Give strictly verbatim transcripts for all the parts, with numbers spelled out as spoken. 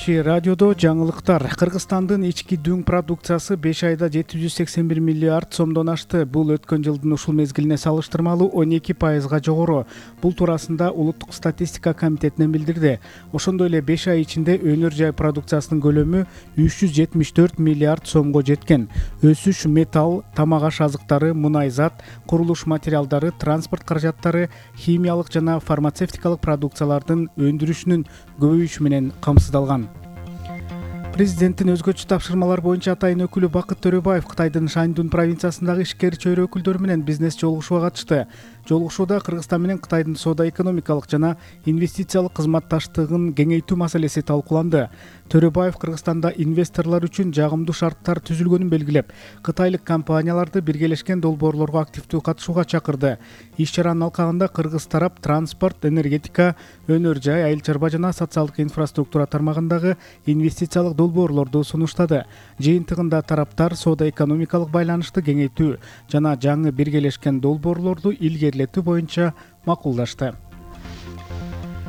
Кичи радиодо жаңылыктар. Кыргызстандын ички дүң продукциясы беш айда жети жүз сексен бир миллиард сомдон ашты. Бул өткөн жылдын ушул мезгилине салыштырмалуу он эки пайызга жогору. Бул туурасында Улуттук статистика комитетинен билдирди. Ошондой эле беш ай ичинде өнөр жай продукциясынын көлөмү үч жүз жетимиш төрт миллиард сомго жеткен. Өсүш металл, тамак аш азыктары, мунай зат, курулуш материалдары, транспорт каражаттары, химиялык жана фармацевтикалык продукциялардын өндүрүшүнүн көбөйүшү менен камсыздалган. Президенттин өзгөчө тапшырмалар боюнча атайын өкүлү Бакыт Төрөбаев Кытайдын Шаньдун провинциясындагы ишкер чөйрө өкүлдөрү менен бизнес жолугушууга катышты. Жолугушууда Кыргызстан менен Кытайдын соода-экономикалык жана инвестициялык кызматташтыгын кеңейтүү маселеси талкууланды. Төрөбаев Кыргызстанда инвесторлор үчүн жагымдуу шарттар түзүлгөнүн белгилеп, кытайлык компанияларды биргелешкен долбоорлорго активдүү катышууга чакырды. Иш-чаранын алкагында кыргыз тарап транспорт, энергетика, өнөр жай, айыл чарба жана социалдык инфраструктура тармагындагы инвестициялык долбоорлорду сунуштады. Жыйынтыгында тараптар соода-экономикалык байланышты кеңейтүү жана жаңы биргелешкен долбоорлорду илгерилетүү боюнча макулдашты.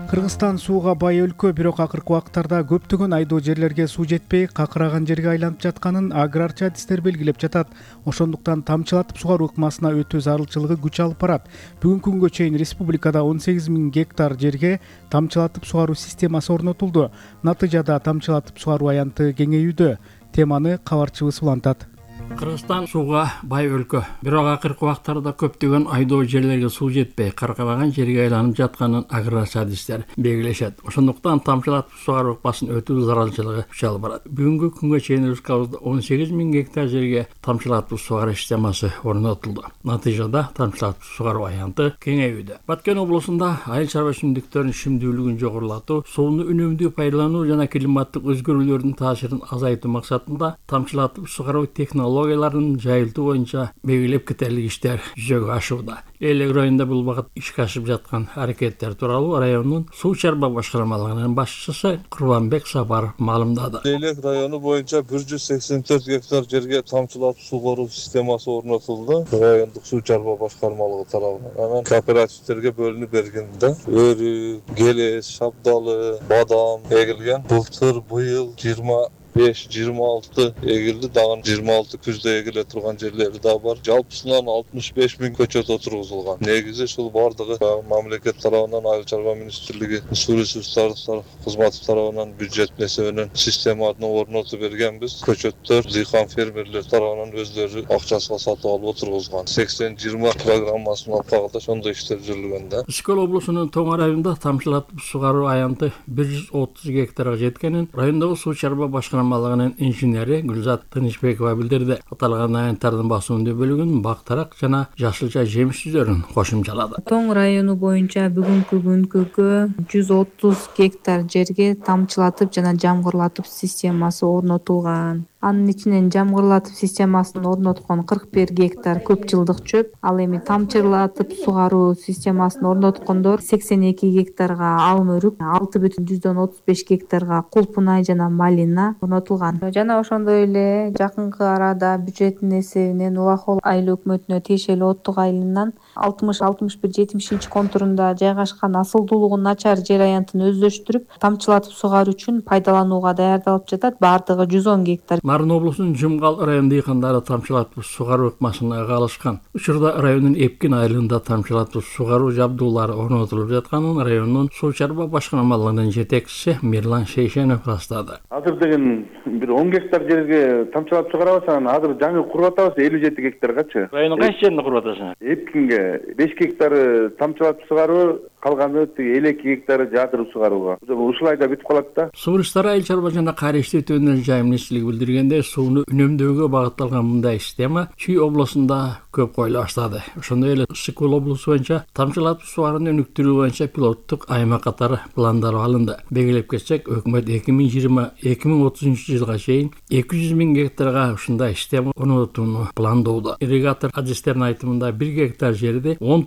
Кыргызстан сууга бай өлкө, бирок акыркы убакыттарда көптөгөн айдоо жерлерге суу жетпей, какыраган жерге айланып жатканын аграрчы адистер белгилеп жатат. Ошондуктан тамчылатып сугаруу ыкмасына өтүү зарылчылыгы күч алып барат. Бүгүнкү күнгө чейин республикада он сегиз миң гектар жерге тамчылатып сугаруу системасы орнотулду. Натыйжада тамчылатып сугаруу аянты кеңейүүдө. Теманы кабарчыбыз улантат. Кыргызстан сууга бай өлкө, бирок акыркы убакыттарда көптөгөн айдоо жерлерге суу жетпей, каркыраган жерге айланып жатканын аграрчы адистер белгилешет. Ошондуктан тамчылатып сугаруу ыкмасын өтүү зарылчылыгы күч алып барат. Бүгүнкү күнгө чейин республикабызда он сегиз миң гектар жерге тамчылатып сугаруу системасы орнотулду. Натыйжада тамчылатып сугаруу аянты кеңейүүдө. Баткен облусунда айыл чарба өсүмдүктөрүнүн чимдүүлүгүн жогорулатуу, сууну үнөмдүү пайдалануу жана климаттык өзгөрүүлөрдүн таасирин азайтуу максатында тамчылатып сугаруу технологияларын жайылтуу боюнча белгилеп кетерлик иштер жүзөгө ашууда. Элек районунда бул багыт ишке ашып жаткан аракеттер тууралуу райондун суу чарба башкармалыгынын башчысы Курбанбек Сапаров маалымдады. Элек району боюнча бир жүз сексен төрт гектар жерге тамчылатып сугаруу системасы орнотулду. Райондук суу чарба башкармалыгы тарабынан. Анан кооперативтерге бөлүнүп бергенде өрү, келес, шабдалы, бадам эгилген. Былтыр быйыл жыйырма беш жыйырма алты эгилди, дагы жыйырма алты күздө эгиле турган жерлери да бар. Жалпысынан алтымыш беш миң көчөт отургузулган. Негизи ушул бардыгы мамлекет тарабынан, айыл чарба министрлиги, суу ресурстары кызматы тарабынан бюджет эсебинен системаны орнотуп бергенбиз. Көчөттөр дыйкан фермерлер тарабынан өздөрү акчасына сатып алып отургузган. сексен жыйырма программасынын алкагында ошондой иштер жүргөн да. Ишкөл облусунун Тоң районунда тамчылатып сугаруу аянты бир жүз отуз гектарга жеткенин райондогу суу чарба башкармалыгынын инженери Гүлзат Тынычбекова билдирди. Аталган аянттардын басымдуу бөлүгүн бактарак жана жашылча жемиш түзөрүн кошумчалады. Тоң району боюнча бүгүнкү күнгө жүз отуз гектар жерге тамчылатып жана жамгырлатып системасы орнотулган. Анын ичинен жамгырлатып системасын орноткон кырк бир гектар көп жылдык чөп, ал эми тамчылатып сугаруу системасын орноткондор сексен эки гектарга алым өрүк, алты бүтүн жүздөн отуз беш гектарга кулпунай жана малина орнотулган. Жана ошондой эле жакынкы арада бюджеттин эсебинен Улахол айыл өкмөтүнө тиешелүү Оттук айылынан алтымыш алтымыш бир жетимишинчи контурунда жайгашкан асылдуулугу начар жер аянтын өздөштүрүп, тамчылатып сугаруу үчүн пайдаланууга даярдалып жатат. Бардыгы жүз он гектар. Нарын облусунун Жумгал район дыйкандары тамчылатып сугаруу ыкмасына калышкан. Учурда райондун Эпкин айылында тамчылатып сугаруу жабдуулары орнотулуп жатканын райондун суу чарба башкармалыгынын жетекчиси Мирлан Шейшенов растады. Азыр деген бир он гектар жерге тамчылатып сугарабыз, анан азыр жаңы куруп атабыз элүү жети гектаргачы. Райондун кайсы жерине куруп атасың? Эпкинге беш гектары тамчылатып сугаруу, калганы элүү эки гектары жаатырып сугарууга. Ушул айда бүтүп калат да. Суу ресурстары айыл чарба жана кайра иштетүү өнөр жай министрлиги билдиргенде, сууну үнөмдөөгө багытталган мындай система Чүй облусунда көп коюла баштады. Ошондой эле Ысык-Көл облусу боюнча тамчылатып сугарууну өнүктүрүү боюнча пилоттук аймак катары пландар алынды. Белгилеп кетсек, өкмөт эки миң жыйырма эки миң отузунчу жылга чейин эки жүз миң гектарга ушундай система орнотууну пландоодо. Ирригатор адистердин айтымында бир гектар жерде он